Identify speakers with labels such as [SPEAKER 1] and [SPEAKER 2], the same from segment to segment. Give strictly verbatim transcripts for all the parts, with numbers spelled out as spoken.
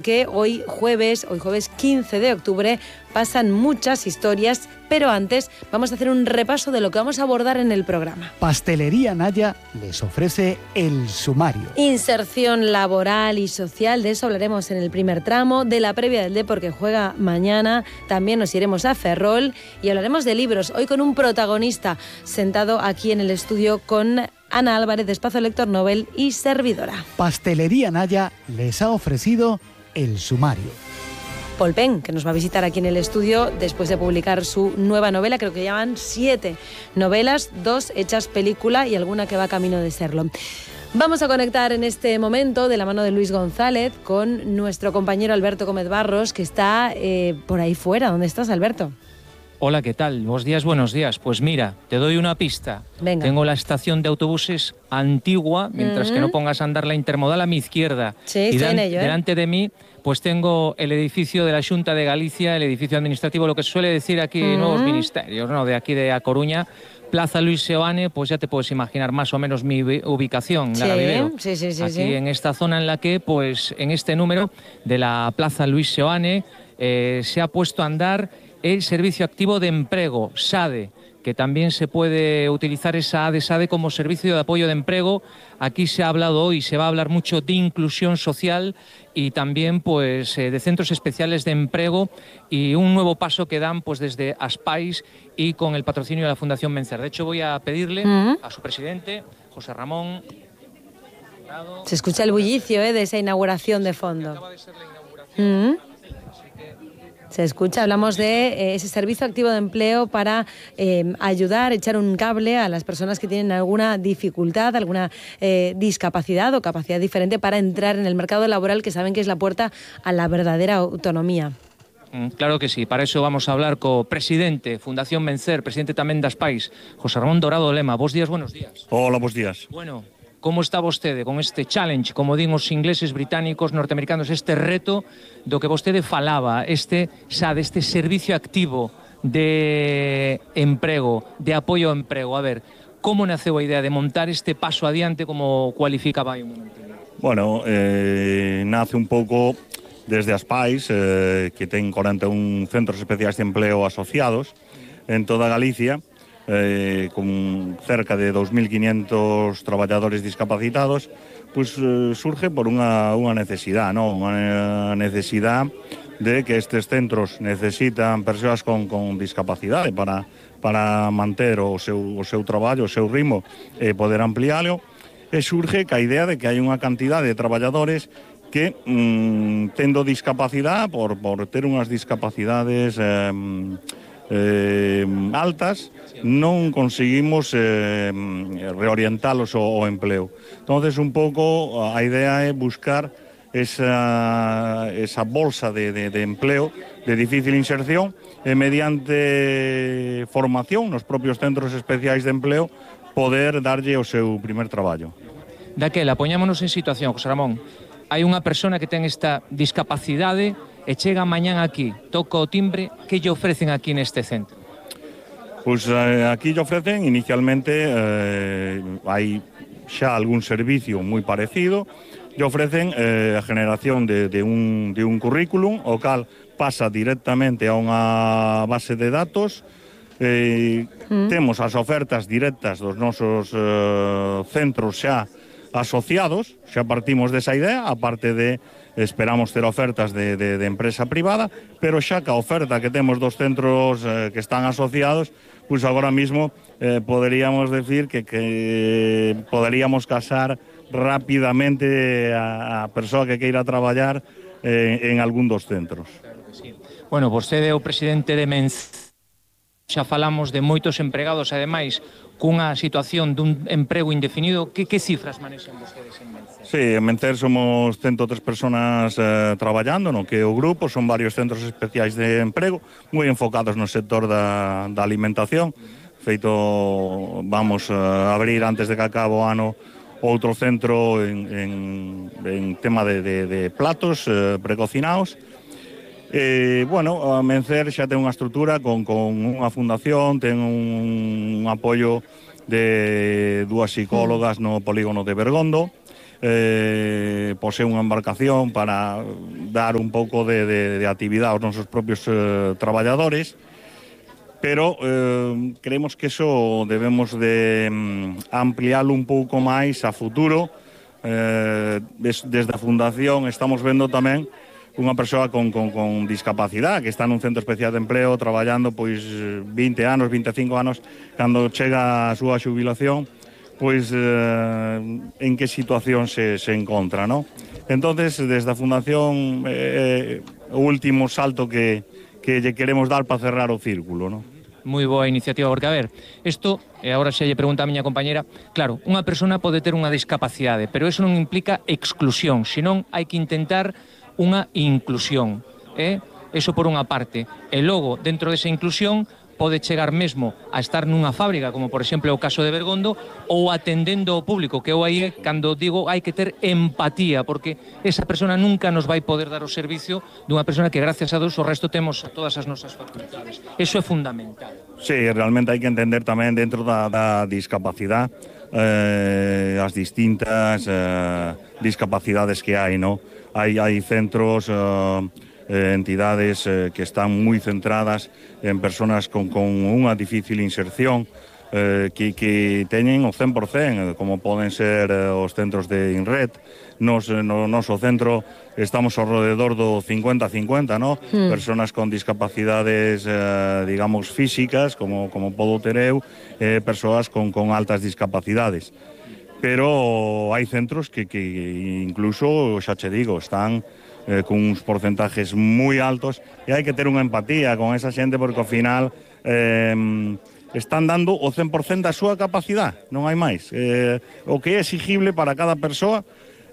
[SPEAKER 1] Que hoy jueves, hoy jueves quince de octubre, pasan muchas historias, pero antes vamos a hacer un repaso de lo que vamos a abordar en el programa.
[SPEAKER 2] Pastelería Naya les ofrece el sumario.
[SPEAKER 1] Inserción laboral y social, de eso hablaremos en el primer tramo, de la previa del Depor que juega mañana, también nos iremos a Ferrol y hablaremos de libros, hoy con un protagonista sentado aquí en el estudio con Ana Álvarez, de Espacio Lector Nobel y servidora.
[SPEAKER 2] Pastelería Naya les ha ofrecido el sumario.
[SPEAKER 1] Paul Penn, que nos va a visitar aquí en el estudio después de publicar su nueva novela, creo que llevan siete novelas, dos hechas película y alguna que va camino de serlo. Vamos a conectar en este momento, de la mano de Luis González, con nuestro compañero Alberto Gómez Barros, que está eh, por ahí fuera. ¿Dónde estás, Alberto?
[SPEAKER 3] Hola, ¿qué tal? Buenos días, buenos días. Pues mira, te doy una pista.
[SPEAKER 1] Venga.
[SPEAKER 3] Tengo la estación de autobuses antigua, mientras
[SPEAKER 1] Mm-hmm.
[SPEAKER 3] que no pongas a andar la intermodal a mi izquierda.
[SPEAKER 1] Sí,
[SPEAKER 3] y
[SPEAKER 1] estoy
[SPEAKER 3] dan-
[SPEAKER 1] en ello, ¿eh?
[SPEAKER 3] delante de mí, pues tengo el edificio de la Xunta de Galicia, el edificio administrativo, lo que se suele decir aquí,
[SPEAKER 1] Mm-hmm.
[SPEAKER 3] nuevos ministerios, ¿no? De aquí de A Coruña. Plaza Luis Seoane, pues ya te puedes imaginar más o menos mi ubi- ubicación,
[SPEAKER 1] Sí,
[SPEAKER 3] Lara Vivero.
[SPEAKER 1] sí, sí, sí,
[SPEAKER 3] Aquí
[SPEAKER 1] sí.
[SPEAKER 3] en esta zona en la que, pues en este número de la Plaza Luis Seoane, eh, se ha puesto a andar el Servicio Activo de Emprego, SADE, que también se puede utilizar esa A D SADE como servicio de apoyo de empleo. Aquí se ha hablado hoy, se va a hablar mucho de inclusión social y también pues eh, de centros especiales de empleo y un nuevo paso que dan pues desde Aspais y con el patrocinio de la Fundación Vencer. De hecho, voy a pedirle
[SPEAKER 1] Mm.
[SPEAKER 3] a su presidente, José Ramón.
[SPEAKER 1] Se escucha el bullicio ¿eh? de esa inauguración de fondo.
[SPEAKER 3] Acaba de ser la inauguración.
[SPEAKER 1] Mm. Se escucha, hablamos de eh, ese servicio activo de empleo para eh, ayudar, echar un cable a las personas que tienen alguna dificultad, alguna eh, discapacidad o capacidad diferente para entrar en el mercado laboral, que saben que es la puerta a la verdadera autonomía.
[SPEAKER 3] Mm, Claro que sí, para eso vamos a hablar co presidente, Fundación Vencer, presidente tamén das Pais, José Ramón Dorado Lema. Bos días, buenos días.
[SPEAKER 4] Hola, bos días.
[SPEAKER 3] Bueno, como está vostede con este challenge, como din os ingleses, británicos, norteamericanos, este reto do que vostede falaba, este SADE, este servicio activo de emprego, de apoio ao emprego? A ver, como naceu a idea de montar este paso adiante, como cualificaba aí un momento?
[SPEAKER 4] Bueno, eh, nace un pouco desde Aspais, eh, que ten cuarenta y un centros especiais de empleo asociados en toda Galicia, eh, con cerca de dos mil quinientos traballadores discapacitados, pues eh, surge por unha, unha necesidade, ¿no? Unha necesidade de que estes centros necesitan persoas con, con discapacidade para, para manter o seu, o seu traballo, o seu ritmo e poder ampliálo, e surge ca idea de que hai unha cantidade de traballadores que, mmm, tendo discapacidade, por, por ter unhas discapacidades eh, eh, altas, non conseguimos eh, reorientalos ao, ao empleo. Entonces, un pouco, a idea é buscar esa, esa bolsa de, de, de empleo de difícil inserción e mediante formación nos propios centros especiais de empleo poder darlle o seu primer traballo.
[SPEAKER 3] Daquela, poñámonos en situación, José Ramón. Hai unha persona que ten esta discapacidade e chega mañán aquí, toca o timbre, que lle ofrecen aquí neste centro?
[SPEAKER 4] Pois eh, aquí lle ofrecen inicialmente, eh, hai xa algún servicio moi parecido, lle ofrecen eh, a generación de, de, un, de un currículum, o cal pasa directamente a unha base de datos. Eh, mm. Temos as ofertas directas dos nosos eh, centros xa asociados, xa partimos desa idea, aparte de esperamos ter ofertas de, de, de empresa privada, pero xa ca oferta que temos dos centros eh, que están asociados, pois agora mismo eh, poderíamos decir que, que poderíamos casar rapidamente a, a persoa que queira traballar eh, en algún dos centros.
[SPEAKER 3] Claro que sí. Bueno, vostede é o presidente de Menz, xa falamos de moitos empregados, ademais, cunha situación dun emprego indefinido. Que, que cifras manexan vostedes en Mencer?
[SPEAKER 4] Sí, en Mencer somos ciento tres personas eh, traballando no que o grupo, son varios centros especiais de emprego, moi enfocados no sector da, da alimentación. Feito, vamos a abrir antes de que acabe o ano outro centro en, en, en tema de, de, de platos eh, precocinados. Eh, bueno, a Mencer xa ten unha estrutura con, con unha fundación, ten un, un apoio de dúas psicólogas no polígono de Bergondo, eh, posee unha embarcación para dar un pouco de, de, de actividade aos nosos propios eh, traballadores, pero eh, creemos que eso debemos de mm, ampliarlo un pouco máis a futuro. Eh, des, desde a Fundación estamos vendo tamén unha persoa con, con, con discapacidade que está nun centro especial de empleo traballando pois vinte anos, vinte e cinco anos, cando chega a súa xubilación, pois eh, en que situación se, se encontra, ¿no? Entonces, desde a Fundación, eh, o último salto que, que lle queremos dar para cerrar o círculo, ¿no?
[SPEAKER 3] Moi boa iniciativa, porque, a ver, isto, e agora xa lle pregunta a miña compañera, claro, unha persona pode ter unha discapacidade, pero eso non implica exclusión, senón hai que intentar unha inclusión, eh? Eso por unha parte. E logo, dentro desa inclusión, pode chegar mesmo a estar nunha fábrica, como por exemplo o caso de Bergondo, ou atendendo ao público, que eu aí, cando digo, hai que ter empatía, porque esa persona nunca nos vai poder dar o servicio dunha persona que, gracias a Deus, o resto temos a todas as nosas facultades. Eso é fundamental.
[SPEAKER 4] Sí, realmente hai que entender tamén dentro da, da discapacidade eh, as distintas eh, discapacidades que hai, ¿no? Hai, hai centros... Eh, Eh, entidades eh, que están moi centradas en persoas con, con unha difícil inserción, eh, que, que teñen o cen por cen, como poden ser eh, os centros de INRED. Nos, no noso centro estamos ao redor do cincuenta cincuenta, ¿no? Mm. Persoas con discapacidades, eh, digamos, físicas, como, como podo ter eu, eh, persoas con, con altas discapacidades. Pero hai centros que, que incluso, xa che digo, están Eh, con uns porcentajes moi altos, e hai que ter unha empatía con esa xente, porque ao final eh, están dando o cen por cen da súa capacidade, non hai máis. Eh, o que é exigible para cada persoa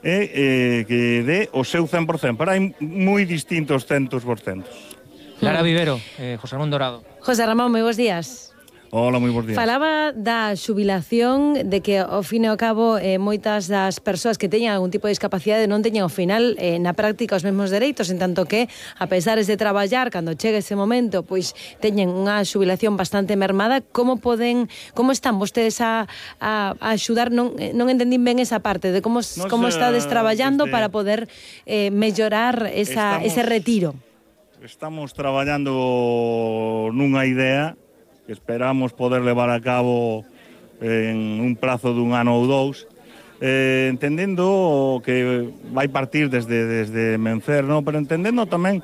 [SPEAKER 4] é eh, que dé o seu cen por cen, pero hai moi distintos centos por centos.
[SPEAKER 3] Lara Vivero, eh, José Ramón Dorado.
[SPEAKER 1] José Ramón, moi bons días.
[SPEAKER 4] Hola, moi bons días.
[SPEAKER 1] Falaba da xubilación, de que ao fin e ao cabo eh, moitas das persoas que teñan algún tipo de discapacidade non teñan ao final eh, na práctica os mesmos dereitos, en tanto que, a pesares de traballar, cando chegue ese momento, pois teñen unha xubilación bastante mermada. Como poden, como están vostedes a, a, a axudar? Non, non entendín ben esa parte de como, no como estades traballando desde... para poder eh, mellorar esa, estamos, ese retiro.
[SPEAKER 4] Estamos traballando nunha idea que esperamos poder levar a cabo en un prazo dun ano ou dous, eh, entendendo que vai partir desde, desde Mencer, ¿no? Pero entendendo tamén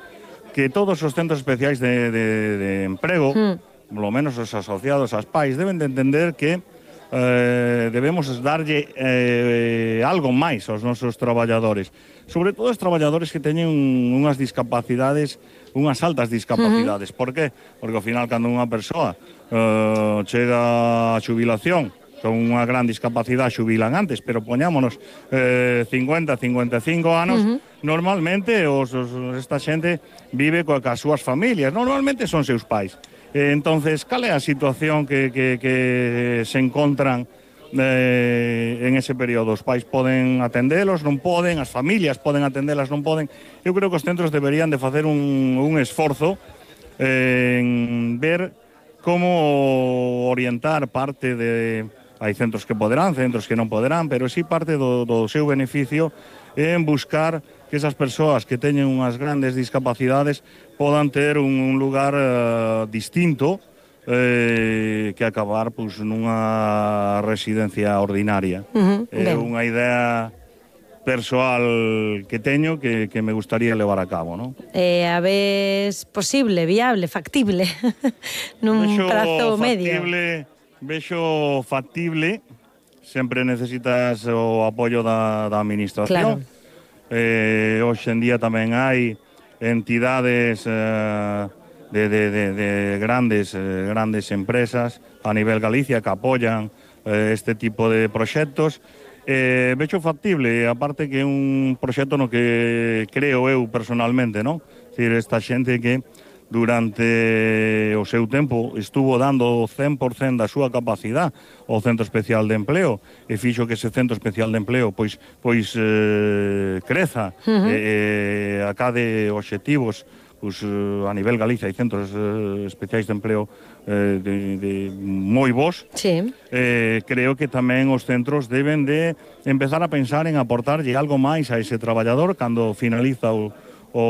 [SPEAKER 4] que todos os centros especiais de, de, de emprego, mm. polo menos os asociados ás pais, deben de entender que eh, debemos darlle eh, algo máis aos nosos traballadores, sobre todo os traballadores que teñen unhas discapacidades, unhas altas discapacidades. Uh-huh. Por qué? Porque ao final, cando unha persoa uh, chega a xubilación con unha gran discapacidade, xubilan antes, pero poñámonos eh, cincuenta, cincuenta e cinco anos, uh-huh. normalmente os, os, esta xente vive coa, coas súas familias, normalmente son seus pais. Eh, entonces, cal é a situación que, que, que se encontran Eh, en ese período? Os pais poden atendelos, non poden, as familias poden atendelas, non poden. Eu creo que os centros deberían de facer un, un esforzo eh, en ver como orientar parte de... Hai centros que poderán, centros que non poderán, pero sí parte do, do seu beneficio en buscar que esas persoas que teñen unhas grandes discapacidades podan ter un, un lugar eh, distinto Eh, que acabar pois, nunha residencia ordinaria. Uh-huh, é ben. Unha idea persoal que teño que, que me gustaría levar a cabo, ¿no?
[SPEAKER 1] Eh, a vez posible, viable, factible, nun vexo prazo
[SPEAKER 4] factible, medio. Vexo factible, sempre necesitas o apoio da, da administración. Claro. Eh, hoxe en día tamén hai entidades... Eh, De, de, de, de grandes, eh, grandes empresas a nivel Galicia que apoyan eh, este tipo de proxectos. Eh, vexo factible, aparte que é un proxecto no que creo eu personalmente, non? Decir, esta xente que durante o seu tempo estuvo dando o cen por cen da súa capacidade ao Centro Especial de Empleo e fixo que ese Centro Especial de Empleo pois, pois eh, creza, uh-huh. e eh, acade obxectivos pues, a nivel Galicia hai centros eh, especiais de empleo eh, de, de moi bons.
[SPEAKER 1] Sí.
[SPEAKER 4] Eh, creo que tamén os centros deben de empezar a pensar en aportarlle algo máis a ese traballador cando finaliza o, o